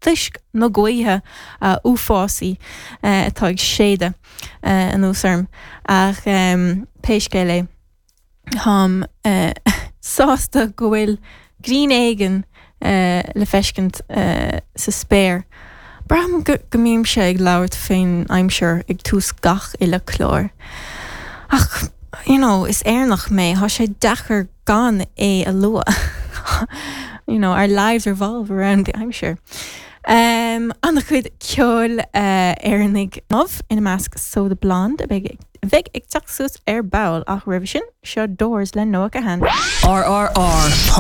Toisc na gaoithe uafásaí atá ag séideadh anuas orm. Ach pé scéal é, táim sásta go bhfuil grian éigin le feiscint sa spéir. Braithim go mbímse ag labhairt faoin aimsir ag tús gach uile clár. Ach, you know, is Éireannach mé, tá sé deacair gan é a lua. You know, our lives revolve around the aimsir. Um, an-chuid ceoil uh, Éireannaigh inniu, ina measc Soda Blonde a bheidh bheidh ag teacht suas ar ball ach roimhe sin, seo Doors le Noah Kahan. RRR.ie.